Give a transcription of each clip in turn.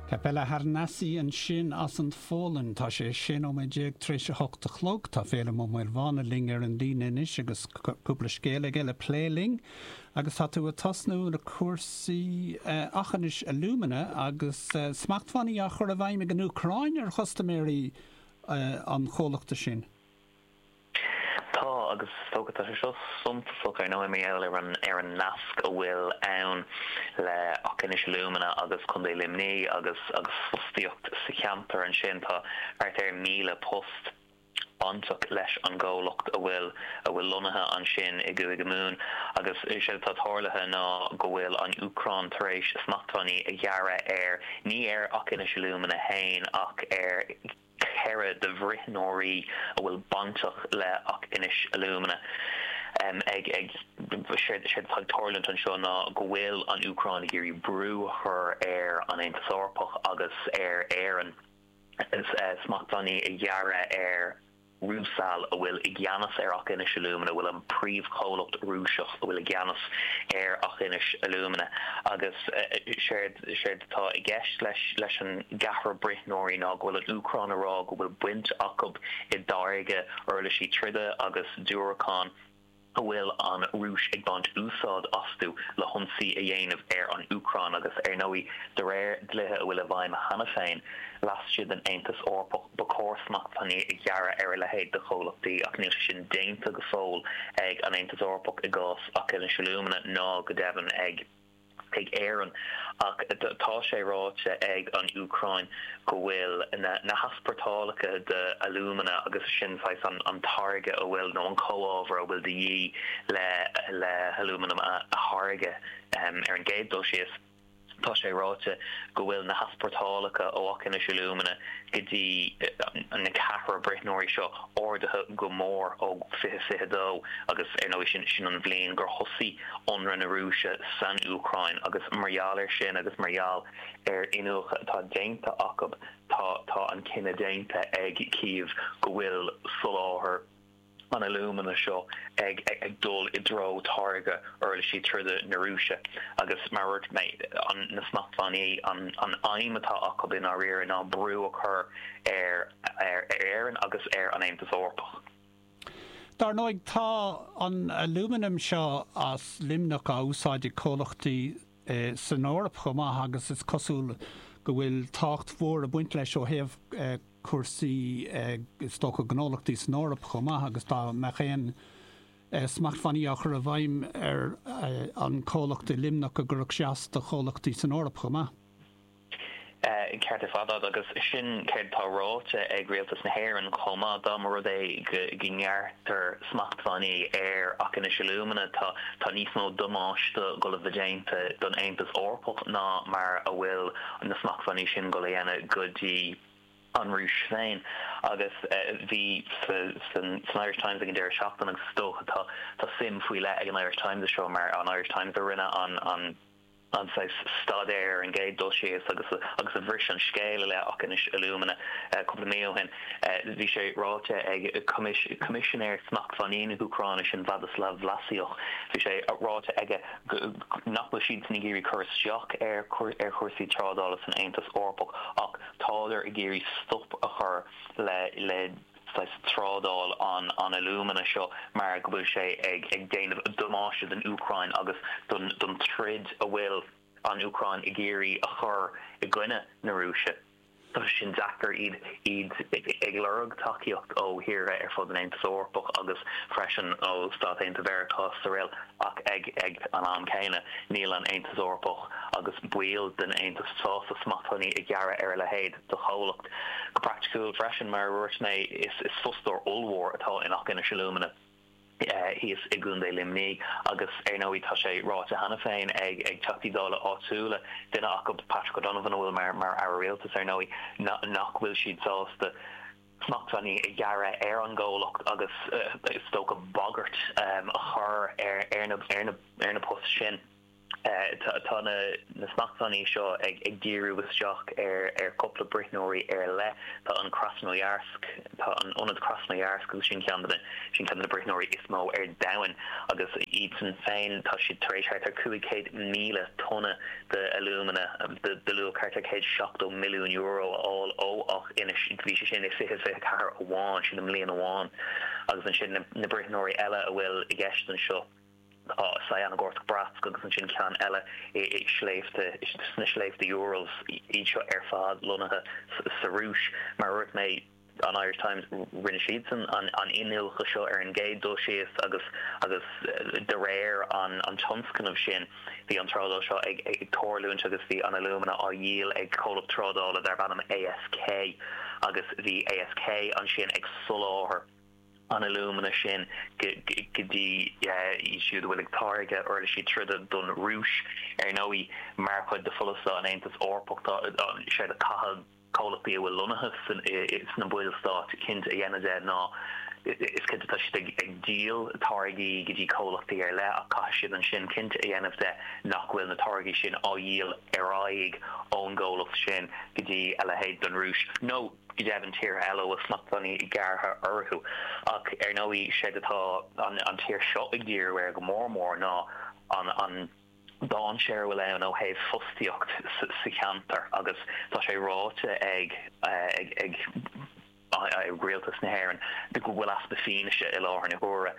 Kapela Harnasie ansin as an Pholainn. Tá sé 16 nóiméad tar éis a hocht a chlog. Tá Féilim Ó Maolmhána linn ar an líne anois agus cúpla scéal aige le plé linn. Agus tá tú ag tosnú le cúrsaí Aughinish Alumina agus smachtbhannaí á chur i bhfeidhm ag an Úcráin ar chustaiméirí an chomhlachta sin. Tá, agus is dócha, tá sé seo suntasach ar ndóigh mar gheall ar an ar an nasc a bhfuil ann le Aughinish Alumina agus Contae Luimnigh agus agus fostaíocht sa cheantar ansin. Tá thart ar 1,000 post bainteach leis an gcomhlacht a bhfuil a bhfuil lonnaithe ansin i gCúige Mumhan agus is é atá tarlaithe ná go bhfuil an Úcráin tar éis smachtbhannaí a ghearradh ar, ní ar Aughinish Alumina féin ach ar. 4 de bhruithneoirí a bhfuil bainteach le Aughinish Alumina. Ag ag séard atá ag tarlúint anseo ná go bhfuil an Úcráin ag iarraidh brú a chur ar an Aontas Eorpach agus ar Éirinn smachtbhannaí a ghearradh ar Rusal a bhfuil i gceannas ar Aughinish Alumina, a bhfuil an príomhchomhlacht Rúiseach a bhfuil i gceannas ar Aughinish Alumina agus séard Séard atá i gceist leis leis an gceathrar bruithneoirí ná go bhfuil an Úcráin ag rá go bhfuil baint acu i dtáirgeadh uirlisí troda agus diúracán a bhfuil an Rúis ag baint úsáid astu le hionsaí a dhéanamh ar an Úcráin agus ar ndóigh de réir dlíthe a bhfuil i bhfeidhm cheana féin laistigh den Aontas Eorpach ba chóir smachtbhannaí a ghearradh ar a leithéid de chomhlachtaí ach níl sé sin déanta go fóill ag an Aontas Eorpach i gcás Aughinish Alumina ná go deimhin ag ag Éirinn, ach tá sé ráite ag an Úcráin go bhfuil na heaspórtálacha de alúmana, agus sin saghas an táirge a bhfuil, nó an comhábhar a bhfuil de dhíth le le halúmanam a tháirgeadh ar an gcéad dul síos, tá sé ráite go bhfuil na heaspórtálacha ó Aughinish Alumina go dtí na ceathrar bruithneoirí seo ardaithe go mór ó 2022 agus ar ndóigh sin sin an bhliain gur thosaigh ionradh na Rúise san Úcráin agus mar gheall air sin agus mar gheall ar iniúchadh atá déanta acu tá tá an cinneadh déanta ag Cív go bhfuil soláthar an alúmana seo ag dul i dtreo táirgeadh uirlisí troda na Rúise agus, mar a dúirt mé, na smachtbhannaí, an aidhm atá acu i ndáiríre ná brú a chur ar Éirinn agus ar an Aontas Eorpach. Dar ndóigh, tá an alúmanam seo as Luimneach á úsáid ag comhlachtaí san Eoraip chomh maith agus is cosúil go bhfuil tábhacht mhór ag baint leis ó thaobh cúrsaí, is dócha, gnólachtaí san Eoraip chomh maith agus dá mbeadh aon smachtbhannaí á chur i bhfeidhm ar an comhlacht i Luimneach go gcuirfeadh sé as do chomhlachtaí san Eoraip chomh maith. Ceart ar fad agat agus sin céard atá ráite ag Rialtas na hÉireann chomh maith. Dá mba rud é go ngearrtar smachtbhannaí ar Aughinish Alumina tá tá níos mó damáiste dul a bheith déanta don Aontas Eorpach ná mar a bhfuil na smachtbhannaí sin dul a dhéanamh go dtí an Rúis féin. Agus bhí san Irish Times ag an deireadh seachtaine agus is dócha tá tá suim faoi leith ag an Irish Times i seo mar an Irish Times a rinne an an an saghas staidéar ar an gcéad dul síos agus agus a bhris an scéal i leith Aughinish Alumina cúpla mí ó shin. Bhí sé ráite ag Coimisinéir Smachtbhannaí na hÚcráine sin Vladyslav Vlasiuk, bhí sé ráite aige nach bhfuil siadsan ag iarraidh cur isteach ar ar chúrsaí trádála san Aontas Eorpach ach tádar ag iarraidh stop a chur le le saghas trádáil an an alúmana seo mar go bhfuil sé ag ag déanamh damáiste don Úcráin agus don don troid a bhfuil an Úcráin ag iarraidh a chur i gcoinne na Rúise. Tá sé sin deacair, iad iad ag lorg tacaíocht ó thíortha ar fud an Aontais Eorpach agus freisin ó Stáit Aontaithe Mheiriceá is araile ach ag ag an am céanna níl an Aontas Eorpach agus baill den Aontas sásta smachtbhannaí a ghearradh ar a leithéid de chomhlacht. Go praiticiúil freisin, mar a dúirt mé, is is fostóir ollmhór atá in Aughinish Alumina thíos i gContae Luimnigh agus ar ndóigh tá sé ráite cheana féin ag ag Teachtaí Dála áitiúla, duine acu Patrick O'Donovan a bhfuil mar mar Aire Rialtais ar ndóigh, nach bhfuil siad sásta smachtbhannaí a ghearradh ar an gcomhlacht agus is dócha bagairt a chur ar ar na ar na poist sin. Tá na smachtbhannaí seo ag díriú isteach ar chúpla bruithneoirí ar leith. Tá an Krasnoyarsk, tá an ionad Krasnoyarsk agus sin ceann de na, sin ceann de na bruithneoirí is mó ar domhan agus iadsan féin tá siad tar éis thart ar 500,000 tonna de alúmana de luach thart ar €170 milliún a fháil ó Aughinish. Bhí sé sin i 2024 amháin, sin i mbliain amháin. Agus ansin na bruithneoirí eile a bhfuil i gceist anseo. Tá Sayanogorsk Bratsk agus ansin ceann eile i sléibhte, sna sléibhte Urals, iad seo ar fad lonnaithe sa Rúis. Mar a dúirt mé, an Irish Times, rinne siadsan an iniúchadh seo ar an gcéad dul síos agus agus de réir an tionscnaimh sin bhí an trádáil seo ag tarlúint agus bhí an alúmana á dhíol ag comhlacht trádála darb ainm ASK agus bhí ASK ansin ag soláthar an alúmana sin go dtí iad siúd a bhfuil ag táirgeadh uirlisí troda don Rúis. Ar ndóigh, mar chuid de pholasaithe an Aontais Eorpaigh, tá sé de caithfidh comhlachtaí a bhfuil lonnaithe sna ballstáit cinnte a dhéanamh de ná is cinnte tá siad ag díol táirgí go dtí comhlachtaí ar leith ach caithfidh siad ansin cinnte a dhéanamh de nach bhfuil na táirgí sin á dhíol ar aghaidh ón gcomhlacht sin go dtí a leithéid den Rúis nó go deimhin tíortha eile a bhfuil smachtbhannaí gearrtha orthu. Ach ar ndóigh, séard atá an tír seo ag díriú air go mór mór ná an dainséar a bhfuil ann ó thaobh fostaíocht sa cheantar agus tá sé ráite ag ag rialtas na hÉireann go bhfuil easpa fianaise i láthair na huaire.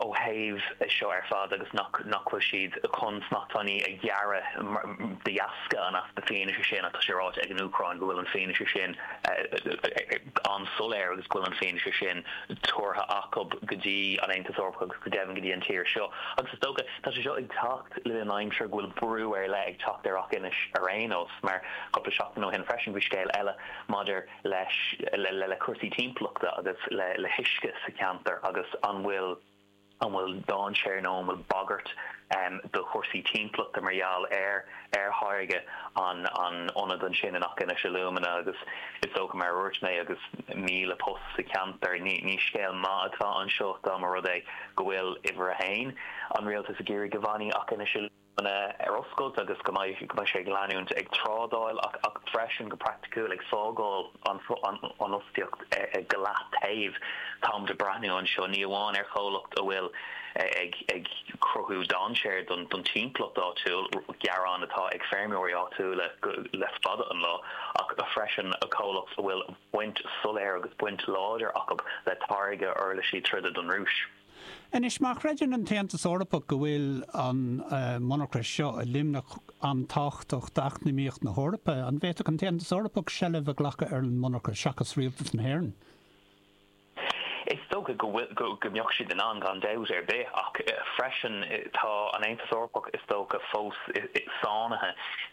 ó thaobh seo ar fad agus nach nach bhfuil siad chun smachtbhannaí a ghearradh de dheasca an easpa fianaise sin ach tá sé ráite ag an Úcráin go bhfuil an fianaise sin an-soiléir agus go bhfuil an fianaise sin tabhartha acu go dtí an Aontas Eorpach agus go deimhin go dtí an tír seo. Agus is dócha, tá sé seo ag teacht le linn aimsir go bhfuil brú ar leith ag teacht ar Aughinish ar aon nós mar cúpla seachtain ó shin freisin bhí scéal eile maidir leis le cúrsaí timpeallachta agus le huisce sa cheantar agus an bhfuil an bhfuil dainséar nó an bhfuil bagairt do chúrsaí timpeallachta mar gheall ar ar tháirgeadh an an ionad ansin in Aughinish Alumina agus is dócha mar a dúirt mé agus 1,000 post sa cheantar ní ní scéal maith atá anseo dá mba rud é go bhfuil uimhir a haon an rialtas ag iarraidh go bhfanfaidh Aughinish ar oscailt agus go mbeidh go mbeidh sé ag leanúint ag trádáil ach ach freisin go praiticiúil ag fágáil an an fhostaíocht go leataobh. Táimid ag breathnú anseo ní amháin ar chomhlacht a bhfuil ag ag cruthú dainséar don don timpeallacht áitiúil, gearán atá ag feirmeoirí áitiúla go le fada an lá, ach freisin comhlacht a bhfuil baint soiléir agus baint láidir acu le táirgeadh uirlisí troda don Rúis. Anois, má chreideann an tAontas Eorpach go bhfuil an monarcha seo i Luimneach an-tábhachtach d'eacnamaíocht na hEorpa, an bhféadfadh an tAontas Eorpach seilbh a ghlacadh ar an monarcha seachas rialtas na hÉireann? Is dócha go bhfuil, go mbeadh siad in ann gan dabht ar bith, ach freisin tá an Aontas Eorpach is dócha fós sáinnithe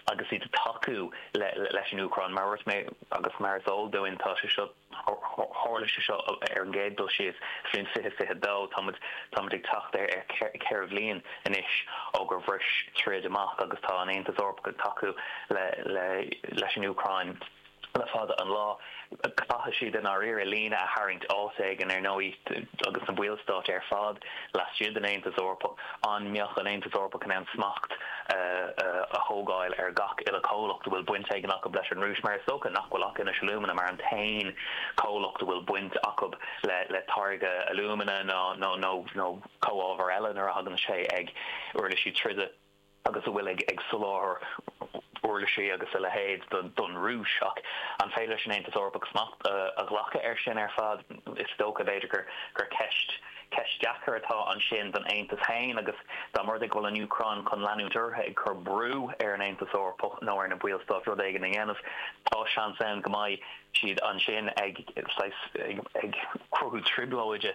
agus iad ag tacú leis an Úcráin. Mar a dúirt mé agus mar is eol dúinn, tá sé seo, Tharla sé seo ar an gcéad dul síos sa bhliain 2022. Táimid táimid ag teacht ar cheithre bhliain anois ó gur bhris troid amach agus tá an Aontas Eorpach ag tacú le le leis an Úcráin le fada an lá. Caithfidh siad i ndáiríre líne a tharraingt áit éigin ar ndóigh agus na ballstáit ar fad laistigh den Aontas Eorpach. An mbeadh an Aontas Eorpach in ann smacht a thógáil ar gach uile chomhlacht a bhfuil baint éigin acu leis an Rúis, mar is dócha nach bhfuil Aughinish Alumina mar an t-aon chomhlacht a bhfuil baint acu le táirgeadh alúmana nó nó comhábhar eile nuair a thagann sé ag uirlisí troda agus a bhfuil ag soláthar uirlisí agus a leithéid don Rúis. Ach an féidir leis an Aontas Eorpach smacht a ghlacadh air sin ar fad? Is dócha, b'fhéidir, gur ceist Ceist deacair atá ansin don Aontas féin agus dá mba rud é go bhfuil an Úcráin chun leanúint uirthi ag cur brú ar an Aontas Eorpach nó ar na ballstáit rud éigin a dhéanamh, tá seans ann go mbeidh siad ansin ag saghas ag cruthú trioblóide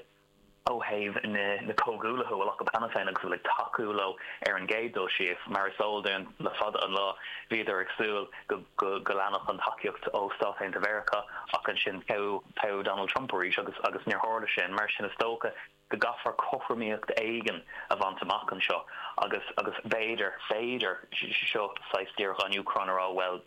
ó thaobh na comhghuaillithe a bhfuil acu cheana féin agus a bhfuil ag tacú leo ar an gcéad dul síos. Mar is eol dúinn, le fada an lá bhíodar ag súil go go leanfadh an tacaíocht ó Stáit Aontaithe Mheiriceá ach ansin toghadh Donald Trump arís agus agus níor tharla sin. Mar sin is dócha go gcaithfear cothromaíocht éigin a bhaint amach anseo agus agus b'fhéidir, b'fhéidir, seo saghas díreach an Úcráin a rá bhuel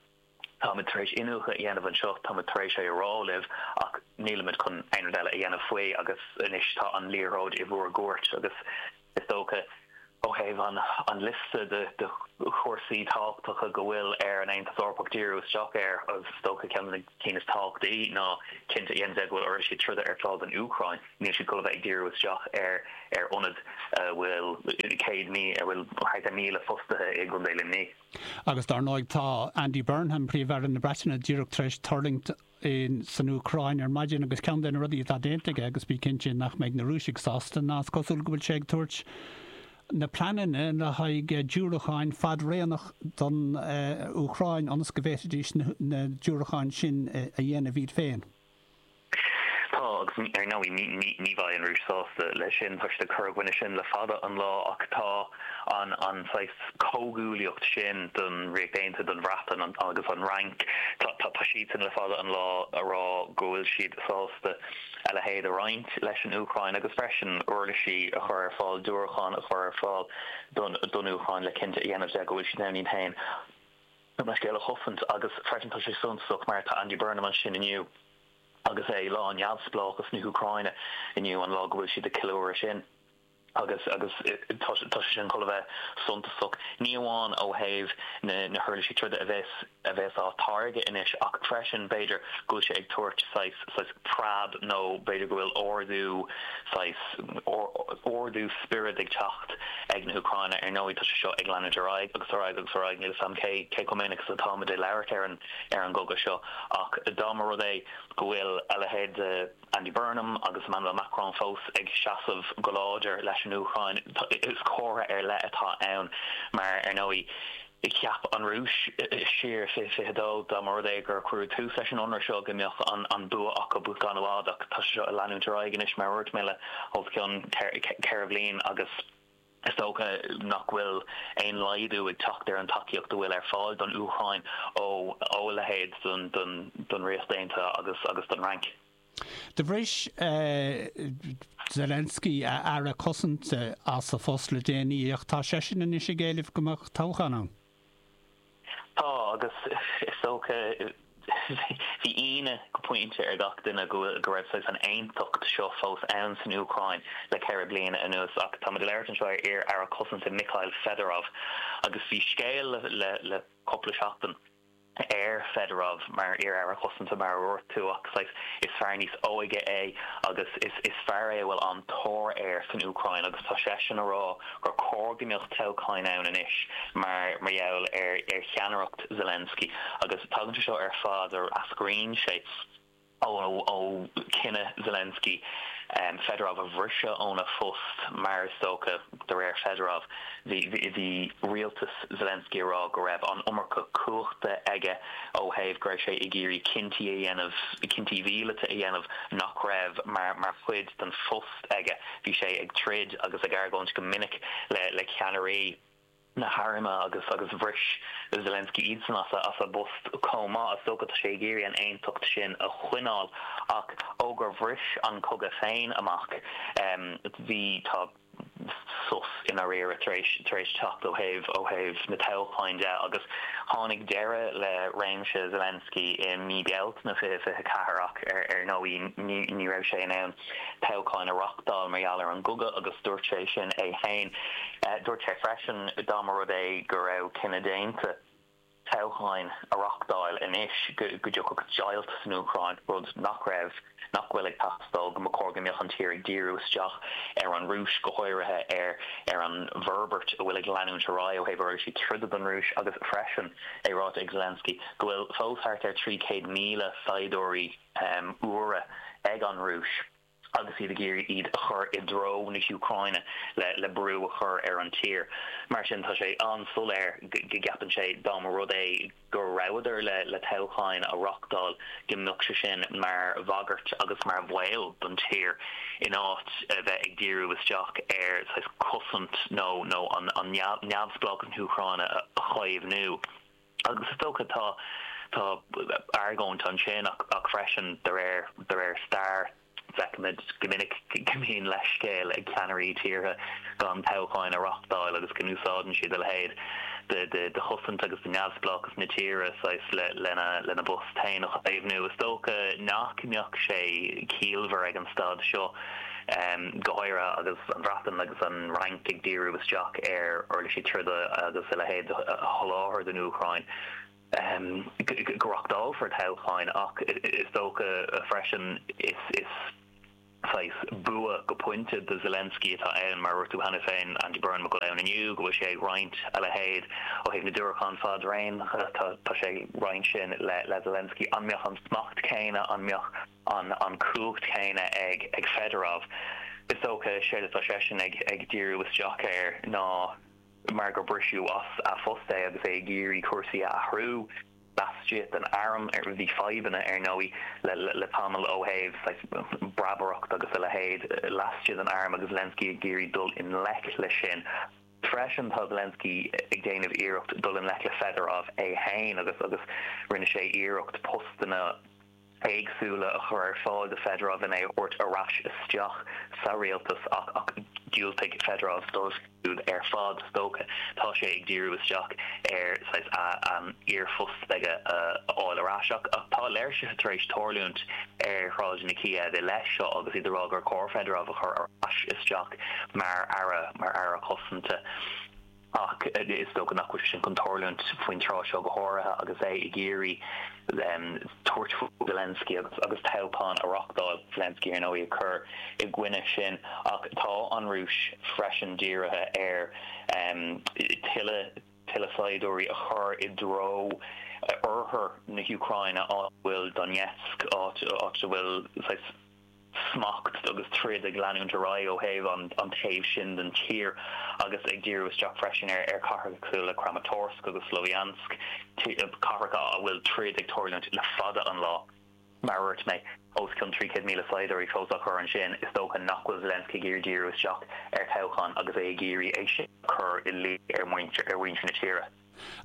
táimid tar éis iniúchadh a dhéanamh anseo, táimid tar éis é a rá libh ach nílimid chun aon rud eile a dhéanamh faoi agus anois tá an liathróid i bhur gcúirt agus is dócha. Ó thaobh an liosta de chúrsaí tábhachtacha go bhfuil ar an Aontas Eorpach díriú isteach air, is dócha ceann de na cinn is tábhachtaí ná cinnte a dhéanamh de go bhfuil uirlisí troda ar fáil don Úcráin. Níl siad chun a bheith ag díriú isteach ar ar ionad a bhfuil 100,000, a bhfuil thart ar 1,000 fostaithe i gContae Luimnigh. Agus dar ndóigh tá Andy Burnham, Príomh-Aire na Breataine, díreach tar éis tuirlingt san Úcráin ar maidin agus ceann de na rudaí atá déanta aige, agus bí cinnte nach mbeidh na Rúisigh sásta, ná is cosúil go bhfuil sé ag tabhairt na pleananna le haghaidh diúracáin fadaraíonach don Úcráin ionas go bhféadfaidís na diúracáin sin a dhéanamh iad féin. Tá, agus ar ndóigh ní bheidh an Rúis sásta leis sin, tá siad ag cur i gcoinne sin le fada an lá, ach tá an an saghas comhghuaillíocht sin don Ríocht Aontaithe, don Bhreatain agus an Fhrainc, tá tá siadsan le fada an lá a rá go bhfuil siad sásta a leithéid a roinnt leis an Úcráin agus freisin uirlisí a chur ar fáil, diúracáin a chur ar fáil don don Úcráin le cinnte a dhéanamh de go bhfuil siad in ann iad féin a scéal a chosaint agus freisin tá sé suntasach mar tá Andy Burnham ansin inniu agus é lá neamhspleáchas na hÚcráine inniu an lá go bhfuil siad ag ceiliúradh sin agus agus tá tá sé sin chun a bheith suntasach ní amháin ó thaobh na na huirlisí troda a bheas a bheas á táirgeadh anois ach freisin b'fhéidir go bhfuil sé ag tabhairt saghas saghas preab nó b'fhéidir go bhfuil ardú saghas ardú spioraid ag teacht ag na hÚcráine. Ar ndóigh, tá sé seo ag leanúint ar aghaidh agus ar aghaidh agus ar aghaidh. Níl a fhios agam cé cé chomh minic is atáimid ag labhairt ar an ar an gcogadh seo ach dá mba rud é go bhfuil a leithéid de Andy Burnham agus Emmanuel Macron fós ag seasamh go láidir leis an Úcráin, is comhartha ar leith atá ann mar, ar ndóigh, Cheap an Rúis siar i 2022, dá mba rud é gur cuireadh tús leis an ionradh seo, go mbeadh an bua acu gan i bhfad ach tá sé seo ag leanúint ar aghaidh anois, mar a dúirt mé, le os cionn 4 bhliain agus is dócha nach bhfuil aon laghdú ag teacht ar an tacaíocht a bhfuil ar fáil don Úcráin ó a leithéid den Ríocht Aontaithe agus don Fhrainc. Do bhris Zelensky a aire cosanta as a phost le déanaí ach tá seisean anois ag éileamh go mbeadh toghchán ann. Tá, agus is dócha bhí ionadh go pointe ar gach duine go go raibh saghas an aontacht seo fós ann san Úcráin le 4 bliana anuas ach táimid ag labhairt anseo ar iar-aire cosanta Mikhail Fedorov agus bhí scéal le le cúpla seachtain ar Fedorov mar iar-aire cosanta, mar a dúirt tú, ach saghas is fear níos óige é agus is is fear é a bhfuil an-tóir air san Úcráin agus tá seisean a rá gur chóir go mbeadh toghcháin ann anois mar mar gheall ar ar cheannaireacht Zelensky agus tagann sé seo ar fad, eascraíonn sé. ó chinneadh Zelensky Fedorov a bhriseadh óna phost mar is dócha, de réir Fedorov, bhí rialtas Zelensky a rá go raibh an iomarca cumhachta aige ó thaobh go raibh sé ag iarraidh cinntí a dhéanamh, cinntí mhíleata a dhéanamh nach raibh mar chuid den phost aige. Bhí sé ag troid agus ag argóint go minic le ceannairí. na hairme agus agus bhris Zelensky iadsan as a as a bpost chomh maith. Is dócha tá sé ag iarraidh an aontacht sin a choinneáil ach ó gur bhris an cogadh féin amach bhí tá sos i ndáiríre tar éis tar éis teacht ó thaobh ó thaobh na toghcháin de agus tháinig deireadh le réimse Zelensky i mí Bealtaine 2024 ach ar ar ndóigh ní ní raibh sé in ann toghcháin a reachtáil mar gheall ar an gcogadh agus dúirt sé sin é féin. Dúirt sé freisin dá mba rud é go raibh cinneadh déanta toghcháin a reachtáil anois go dtiocfadh deighilt san Úcráin, rud nach raibh, nach bhfuil ag teastáil, go mba chóir go mbeadh an tír ag díriú isteach ar an Rúis, go háirithe ar ar an bhforbairt a bhfuil ag leanúint ar aghaidh ó thaobh uirlisí troda don Rúis agus freisin é ráite ag Zelensky go bhfuil fós thart ar 300,000 saighdiúirí úra ag an Rúis agus iad ag iarraidh iad a chur i dtreo na hÚcráine le brú a chur ar an tír. Mar sin, tá sé an-soiléir go gceapann sé dá mba rud é go rabhadar le toghcháin a reachtáil go mbeadh sé sin mar bhagairt agus mar bhaol don tír in áit a bheith ag díriú isteach ar saghas cosaint nó nó an neamhspleáchas na hÚcráine a chaomhnú. Agus is dócha tá tá argóint ansin ach ach freisin de réir de réir stair feicimid go minic go mbíonn leithscéal ag ceannairí tíortha gan toghcháin a reachtáil agus go n-úsáideann siad a leithéid de de de chosaint agus de neamhspleáchas na tíre saghas le lena lena bpost féin a chaomhnú. Is dócha nach mbeadh sé ciallmhar ag an staid seo. Go háirithe agus an Bhreatain agus an Fhrainc ag díriú isteach ar uirlisí troda agus a leithéid a sholáthar don Úcráin, go reachtálfar toghcháin ach is dócha freisin is saghas bua go pointe do Zelensky atá ann, mar a dúirt tú cheana féin, Andy Burnham ag dul ann inniu, go bhfuil sé ag roinnt a leithéid ó thaobh na diúracán fadraonacha, tá sé ag roinnt sin le Zelensky. An mbeadh an smacht céanna, an mbeadh an chumhacht chéanna ag ag Fedorov? Is dócha, séard atá seisean ag ag díriú isteach air ná mar gur briseadh as a phost é agus é ag iarraidh cúrsaí a athrú laistigh den arm. Bhí fadhbanna, ar ndóigh, le tamall ó thaobh saghas breabaireacht agus a leithéid laistigh den arm agus Zelensky ag iarraidh dul i ngleic leis sin. Freisin, tá Zelensky ag déanamh iarracht dul i ngleic le Fedorov é féin agus agus rinne sé iarracht postanna éagsúla a chur ar fáil do Fedorov lena é a thabhairt ar ais isteach sa rialtas ach ach dhiúltaigh Fedorov dóibh siúd ar fad, is dócha. Tá sé ag díriú isteach ar saghas an iarphost aige a fháil ar ais ach ach tá léirsithe tar éis tarlúint ar shráideanna Kiev i leith seo agus iad ag rá gur chóir Fedorov a chur ar ais isteach mar aire mar aire cosanta. Ach is dócha nach bhfuil sé sin chun tarlúint faoin tráth seo, go háirithe agus é ag iarraidh tabhairt faoi Zelensky agus agus toghchán a reachtáil, Zelensky ar ndóigh ag cur i gcoinne sin. Ach tá an Rúis freisin dírithe ar tuilleadh tuilleadh saighdiúirí a chur i dtreo oirthear na hÚcráine, áit a bhfuil Donetsk, áit a bhfuil saghas. smacht agus troid ag leanúint ar aghaidh ó thaobh an taobh sin den tír agus ag díriú isteach freisin ar chathracha cosúil le Kramatorsk agus Sloviansk, cathracha a bhfuil troid ag tarlúint le fada an lá. Mar a dúirt mé, os cionn 300,000 saighdiúirí fós á chur ansin, is dócha nach bhfuil Zelensky ag iarraidh díriú isteach ar thoghchán agus é ag iarraidh é sin a chur i luí ar mhuintir na tíre.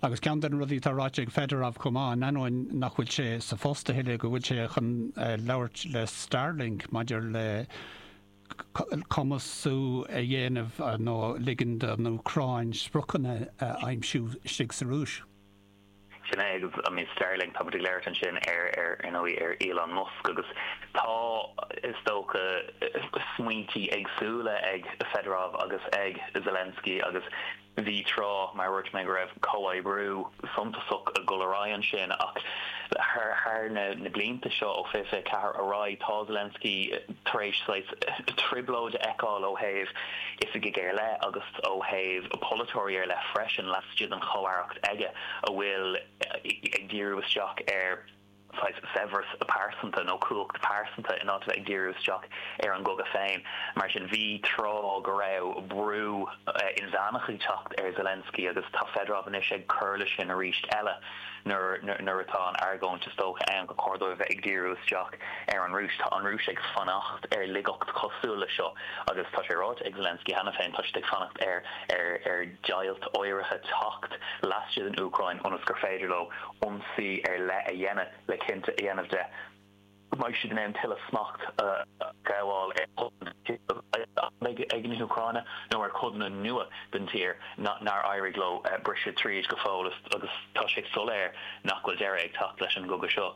Agus ceann de na rudaí atá ráite ag Fedorov chomh maith, in ainneoin nach bhfuil sé sa phost a thuilleadh, go bhfuil sé chun labhairt le Starlink maidir le cumasú a dhéanamh nó ligean don Úcráin spriocanna a aimsiú istigh sa Rúis. Sin é, agus I mean Starlink, tá muid ag labhairt ansin ar, ar, ar ndóigh, ar Elon Musk agus tá, is dócha, smaointí éagsúla ag Fedorov agus ag Zelensky agus Bhí tráth, mar a dúirt mé, go raibh comhoibriú suntasach ag dul ar aghaidh ansin ach thar na blianta seo, ó 2024 ar aghaidh, tá Zelensky tar éis saghas trioblóid a fheiceáil ó thaobh oifigigh ar leith agus ó thaobh polaiteoirí ar leith freisin laistigh den chomh-aireacht aige a bhfuil ag díriú isteach ar saghas saibhreas pearsanta nó cumhacht pearsanta in áit a bheith ag díriú isteach ar an gcogadh féin. Mar sin, bhí tráth go raibh brú inmheánach ag teacht ar Zelensky agus tá Fedorov anois ag cur leis sin arís eile nuair nuair atá an argóint is dócha ann gur chóir dóibh a bheith ag díriú isteach ar an Rúis. Tá an Rúis ag fanacht ar laigeacht cosúil leis seo agus tá sé ráite ag Zelensky cheana féin, tá siad ag fanacht ar ar ar deighilt áirithe teacht laistigh den Úcráin ionas gur féidir leo ionsaí ar leith a dhéanamh le cinnte a dhéanamh de go mbeidh siad in ann tuilleadh smacht a ghabháil ar chodanna ag na hÚcráine nó ar chodanna nua den tír nár éirigh leo briseadh tríd go fóill agus tá sé soiléir nach bhfuil deireadh ag teacht leis an gcogadh seo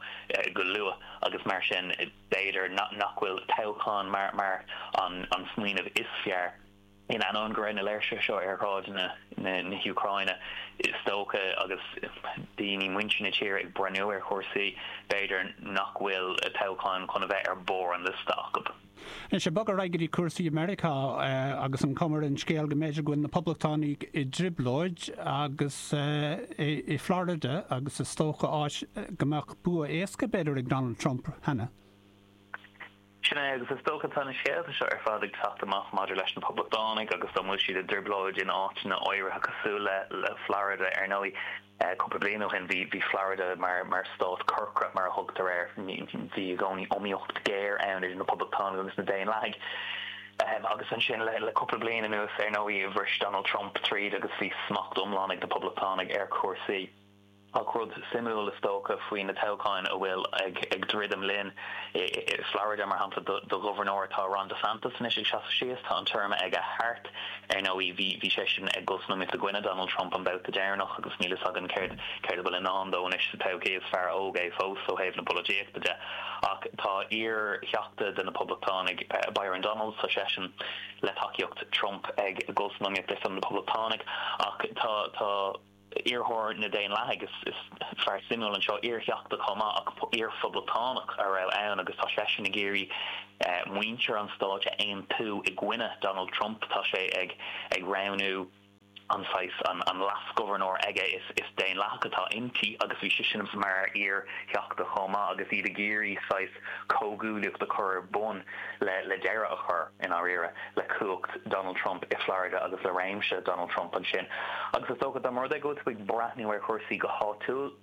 go luath agus mar sin b'fhéidir nach bhfuil toghchán mar an smaoineamh is fearr. In ainneoin go raibh na léirsithe seo ar shráideanna na hÚcráine, is dócha, agus daoine, muintir na tíre ag breathnú ar chúrsaí, b'fhéidir nach bhfuil toghchán chun a bheith ar bharr an liosta acu. Anois, ag bogadh ar aghaidh go dtí cúrsaí i Meiriceá, agus an chuma ar an scéal go mb'fhéidir go bhfuil na Poblachtánaigh i dtrioblóid agus i Florida agus is dócha áit go mbeadh bua éasca b'fhéidir ag Donald Trump cheana. Sin é, agus is dócha tá na scéalta seo ar fad ag teacht amach maidir leis na Poblachtánaigh agus dá bhfuil siad i dtrioblóid in áiteanna áirithe cosúil le Florida. Ar ndóigh, cúpla bliain ó shin bhí bhí Florida mar mar stát corcra mar a thugtar air. Bhí i gcónaí iomaíocht ghéar ann idir na Poblachtánaigh agus na Daonlathaigh. Agus ansin le le cúpla bliain anuas, ar ndóigh, bhris Donald Trump tríd agus bhí smacht iomlán ag na Poblachtánaigh ar chúrsaí. Ach rud suimiúil, is dócha, faoi na toghcháin a bhfuil ag druidim linn, i Florida, mar shampla, do ghobharnóir, tá Ron DeSantis anois ag seasamh síos, tá an téarma aige thart. Ar ndóigh, bhí bhí seisean ag dul san iomaíocht i gcoinne Donald Trump an babhta deireanach agus níl fhios againn céard céard a bhfuil i ndán dó anois sa todhchaí. Is fear óg é fós ó thaobh na polaitíochta de. Ach tá iar-theachta de na Poblachtánaigh, Byron Donalds, tá seisean le tacaíocht Trump ag dul san iomaíocht ar son na Poblachtánaigh. Ach tá tá. Iarrthóir na Daonlathaigh, is fear suimiúil anseo, iar-theachta chomh maith ach iar-phoblachtánach a raibh ann agus tá seisean ag iarraidh muintir an stáit a aontú i gcoinne Donald Trump. Tá sé ag ag roghnú an saghas an leas-ghobharnóir aige, is Daonlathach atá inti agus bhí sise mar iar-theachta chomh maith agus iad ag iarraidh saghas comhghuaillíocht a chur ar bun le le deireadh a chur, i ndáiríre, le cumhacht Donald Trump i Florida agus le réimse Donald Trump ansin. Agus is dócha, dá mba rud é go bhfuil tú ag breathnú ar chúrsaí go háitiúil,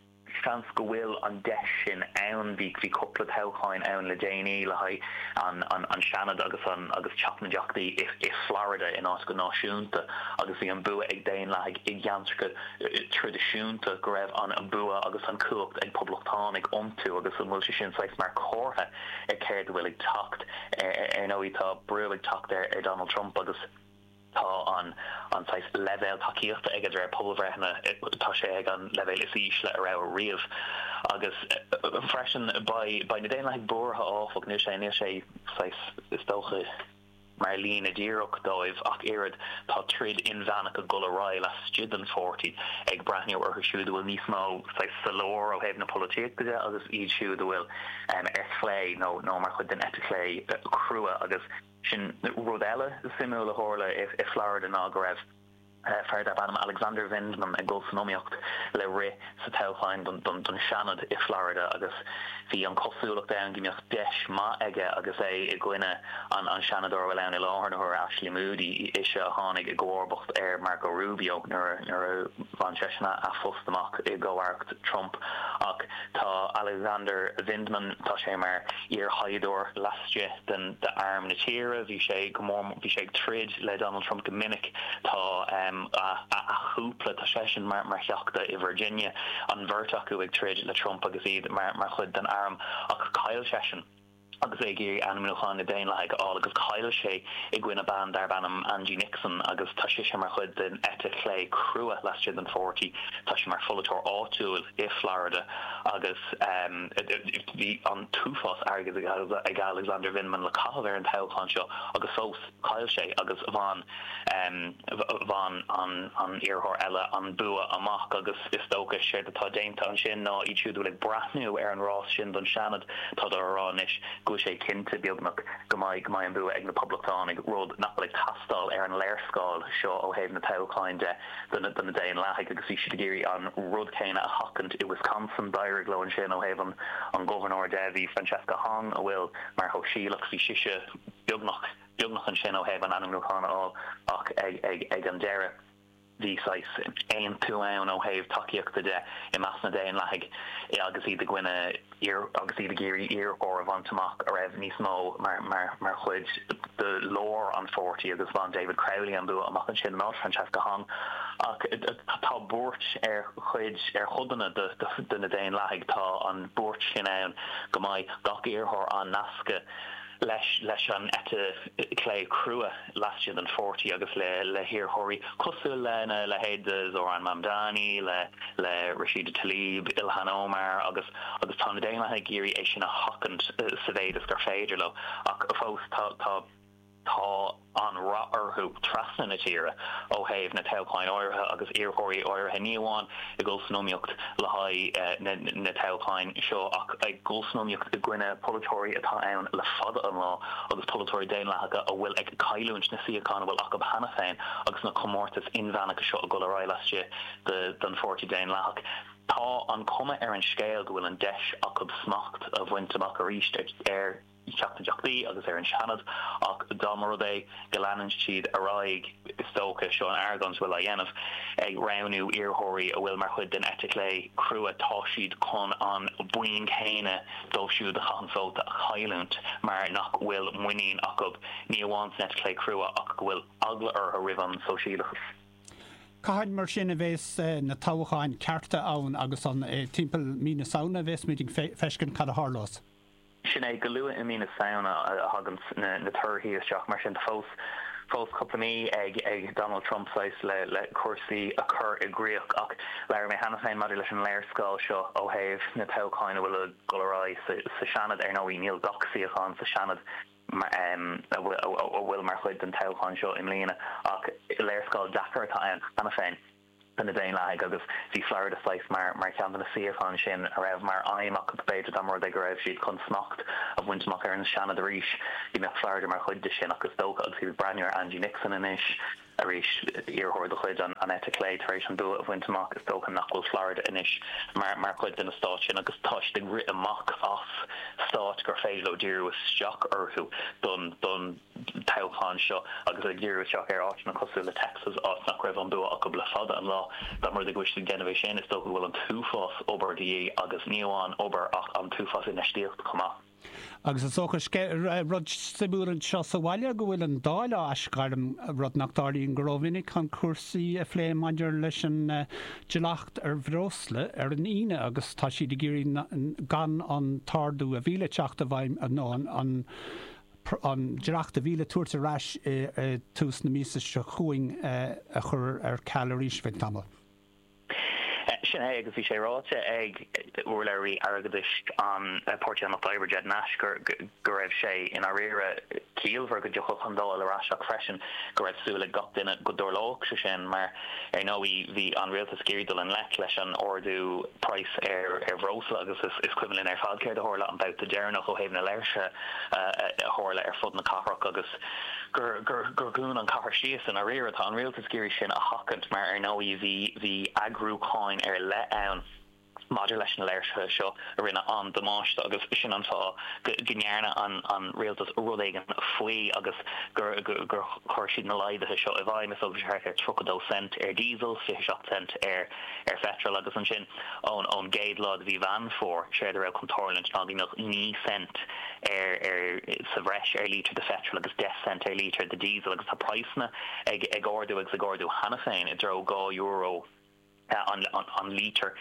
seans go bhfuil an deis sin ann. Bhí bhí cúpla toghcháin ann le déanaí le haghaidh an an an Seanad agus an agus Teach na dTeachtaí i i Florida in áit go náisiúnta agus bhí an bua ag Daonlathaigh i gceantracha traidisiúnta go raibh an bua agus an cumhacht ag poblachtánaigh iontu agus an bhfuil sé sin saghas mar chomhartha ar céard a bhfuil ag teacht. Ar ndóigh tá brú ag teacht ar Donald Trump agus tá an an saghas leibhéal tacaíochta aige de réir pobalbhreitheanna, tá sé ag an leibhéal is ísle a raibh riamh. Agus freisin beidh beidh na Daonlathaigh buartha áfach, níl sé níl sé saghas is dócha, mar líne díreach dóibh ach oiread. Tá troid inmheánach ag dul ar aghaidh laistigh den pháirtí, ag breathnú orthu siúd a bhfuil níos mó saghas sa lár ó thaobh na polaitíochta de agus iad siúd a bhfuil ar chlé nó nó mar chuid den eite chlé crua agus sin rud eile suimiúil a tharla i Florida ná go raibh fear darb ainm Alexander Vindman ag dul san iomaíocht le rith sa toghchán don Seanad i Florida agus bhí an chosúlacht ann go mbeadh deis maith aige agus é i gcoinne an Seanadóir a bhfuil ann i láthair na huaire, Ashley Moody, ise a tháinig i gcomharbacht ar Marco Rubio nuair a bhain seisean a phost amach i gcomh-aireacht Trump. Ach tá Alexander Vindman, tá sé mar iarshaighdiúir laistigh den d'arm na tíre, bhí sé go mór, bhí sé ag troid le Donald Trump go minic. Tá a chúpla, tá seisean mar theachta i Virginia, an bheirt acu ag troid le Trump agus iad mar chuid den arm, ach chaill seisean agus é ag iarraidh ainmniúchán na Daonlathaigh a fháil agus chaill sé i gcoinne bean darb ainm Angie Nixon agus tá sise mar chuid den eite chlé crua laistigh den pháirtí. Tá sí mar pholaiteoir áitiúil i Florida agus bhí an t-uafás airgid ag Alexander Vindman le caitheamh ar an toghchán seo agus fós Chaill sé agus bhain bhain an an iarrthóir eile an bua amach agus is dócha séard atá déanta ansin ná iad siúd a bhfuil ag breathnú ar an rás sin don Seanad, tádar á rá anois go bhfuil sé cinnte, beagnach, go mbeidh go mbeidh an bua ag na Poblachtánaigh, rud nach bhfuil ag teastáil ar an léarscáil seo ó thaobh na toghcháin de do na do na Daonlathaigh agus bhí siad ag iarraidh an rud céanna a sheachaint i Wisconsin. D'éirigh leo ansin ó thaobh an an ghobharnóir de, bhí Francesca Hong a bhfuil mar shóisialach, bhí sise beagnach, beagnach ansin ó thaobh an ainmniúchán a fháil ach ag an deireadh bhí saghas aontú ann ó thaobh tacaíochta de i measc na Daonlathaigh agus iad i gcoinne agus iad ag iarraidh iarrthóir a bhaint amach a raibh níos mó mar mar mar chuid de lár an pháirtí agus bhain David Crowley an bua amach ansin in áit Francesca Hong. Ach tá buairt ar chuid ar chodanna de de na Daonlathaigh, tá an buairt sin ann go mbeidh gach iarrthóir á nascadh leis leis an eite chlé chrua laistigh den pháirtí agus le le hiarrthóirí cosúil lena leithéid de Zohran Mamdani, le le Rashida Tlaib, Ilhan Omar agus agus tá na Daonlathaigh ag iarraidh é sin a sheachaint sa mhéid is gur féidir leo ach fós tá tá tá an-rath orthu trasna na tíre ó thaobh na toghcháin áirithe agus iarrthóirí áirithe, ní amháin ag dul san iomaíocht le haghaidh na toghcháin seo ach ag dul san iomaíocht i gcoinne polaiteoirí atá ann le fada an lá agus polaiteoirí daonlathacha a bhfuil ag cailliúint na suíochán a bhfuil acu cheana féin agus na comórtais inmheánacha seo ag dul ar aghaidh laistigh den Pháirtí Daonlathach. Tá an chuma ar an scéal go bhfuil an deis acu smacht a bhaint amach arís ar Theach na dTeachtaí agus ar an Seanad, ach dá mba rud é go leanann siad ar aghaidh, is dócha, seo an argóint a bhfuil á dhéanamh, ag roghnú iarrthóirí a bhfuil mar chuid den eite chlé crua, tá siad chun an buíon céanna dóibh siúd a chaitheann vóta a chailliúint mar nach bhfuil muinín acu ní amháin san eite chlé crua ach go bhfuil eagla orthu roimh an sóisialachas. Cathain mar sin a bhéas na toghcháin cearta ann agus an timpeall mí na Samhna a bhéas muid ag feiscint cad a tharlós? Sin é, go luath i mí na Samhna a thagann na torthaí isteach, mar sin tá fós fós cúpla mí ag Donald Trump saghas le le cúrsaí a chur i gcríoch. Ach labhair mé cheana féin maidir leis an léarscáil seo ó thaobh na toghcháin a bhfuil ag dul ar aghaidh sa Seanad. Ar ndóigh níl gach suíochán sa Seanad a bhfuil mar chuid den toghchán seo i mbliana ach léarscáil deacair atá ann cheana féin do na Daonlathaigh agus bhí Florida saghas mar mar cheann de na suíocháin sin a raibh mar aidhm acu b'fhéidir dá mba rud é go raibh siad chun smacht a bhaint amach ar an Seanad arís go mbeadh Florida mar chuid de sin ach is dócha agus iad ag breathnú ar Angie Nixon anois arís, iarrthóir de chuid an eite chlé tar éis an bua a bhaint amach, is dócha nach bhfuil Florida anois mar chuid de na stáit sin agus tá siad ag rith amach as stáit gur féidir leo díriú isteach orthu don don toghchán seo agus ag díriú isteach ar áiteanna cosúil le Texas, áit nach raibh an bua acu le fada an lá. Dá mba rud é go bhfuil siad ag déanamh é sin, is dócha go bhfuil an t-uafás obair de dhíth agus ní amháin obair ach an t-uafás infheistíochta chomh maith. Agus is dócha, rud suimiúil anseo sa bhaile go bhfuil an Dáil á aisghairm, rud nach dtarlaíonn go rómhinic, chun cúrsaí a phlé maidir leis an dleacht ar bhreosla ar an Aoine agus tá siad ag iarraidh gan an t-ardú a bhí le teacht i bhfeidhm nó an an dleacht a bhí le tabhairt ar ais i dtús na míosa seo chugainn a chur ar ceal arís ar feadh tamaill. Sin é, agus bhí sé ráite ag urlabhraí airgeadais an Páirtí an Lucht Oibre, Ged Nash, go raibh sé i ndáiríre ciallmhar go dtiocfadh an Dáil ar ais ach freisin go raibh súil ag gach duine go dtarlódh sé sin mar, ar ndóigh, bhí an rialtas ag iarraidh dul i ngleic leis an ardú praghas ar bhreosla agus is cuimhin linn ar fad céard a tharla an babhta deireanach ó thaobh na léirsithe a tharla ar fud na cathrach agus gur gur dhún an chathair síos i ndáiríre. Tá an rialtas ag iarraidh sin a sheachaint mar ar ndóigh bhí bhí eagrúcháin ar leith ann maidir leis na léirsithe seo a rinne an-damáiste agus sin an fáth go go ndearna an an rialtas rud éigin faoi agus gur gur chuir siad na laghduithe seo i bhfeidhm. Is dócha thart ar 32 cent ar diesel, 27 cent ar ar pheitreal agus ansin ón ón gcéad lá de mhí Mheán Fómhair, séard a raibh chun tarlúint ná go mbeadh 9 cent ar ar sa bhreis ar lítear de pheitreal agus 10 cent ar lítear de diesel agus tá praghsanna ag ag ardú agus ag ardú cheana féin i dtreo €2 an an lítear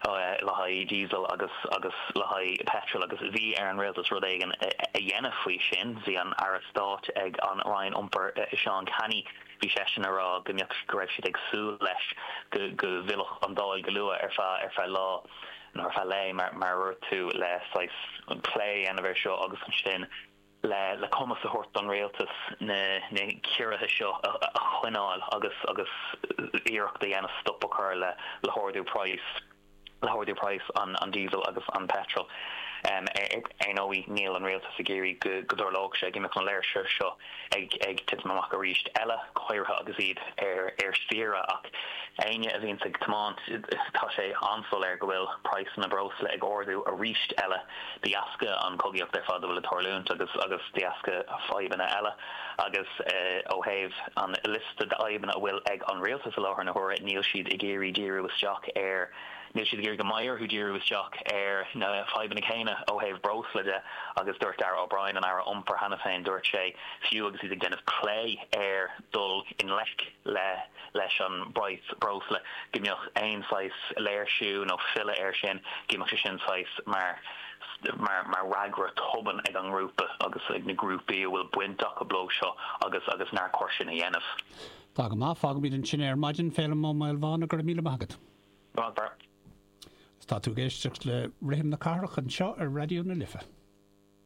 le haghaidh diesel agus agus le haghaidh peitreal agus bhí ar an rialtas rud éigin a dhéanamh faoi sin. Bhí an Aire Stáit ag an Roinn Iompair Seán Canney Bhí seisean ag rá go mbeadh, go raibh siad ag súil leis go, go bhfillfeadh an Dáil go luath ar feadh, ar feadh lá nó ar feadh lae mar, mar a dúirt tú, le saghas plé a dhéanamh air seo agus ansin le, le cumas a thabhairt don rialtas na, na ciorruithe seo a, a choinneáil agus, agus iarracht a dhéanamh stop a chur le, le hardú praghas. le hardú praghas an diesel agus an petrol. Ar ndóigh, níl an rialtas ag iarraidh go dtarlódh sé, go mbeadh na léirsithe seo ag titim amach arís eile, go háirithe agus iad ar saoire. Ach éinne a bhíonns ag tiomáint, tá sé an-soiléir go bhfuil praghsanna breosla ag ardú arís eile de dheasca an chogaíocht ar fad a bhfuil ag tarlúint agus agus de dheasca fadhbanna eile. Agus ó thaobh an liosta d'fhadhbanna a bhfuil ag an rialtas i láthair na huaire, níl siad ag iarraidh díriú isteach ar, níl siad ag iarraidh go mbeidh orthu díriú isteach ar na fadhbanna céanna ó thaobh breosla de agus dúirt Darragh O'Brien, an Aire Iompair cheana féin, dúirt sé, fiú agus iad ag déanamh plé ar dhul i ngleic le leis an bpraghas breosla, go mbeadh aon saghas léirsiú nó filleadh air sin, go mbeadh sé sin saghas mar mar mar fhreagra tobann ag an ngrúpa agus ag na grúpaí a bhfuil baint acu leo seo agus agus nár chóir sin a dhéanamh. Tá go maith, fágfaimid ansin é ar maidin, Féilim Ó Maolmhána, go raibh míle maith agat. Go maith, Barra. Tá tú ag éisteacht le Rithim na Cathrach anseo ar Raidió na Life.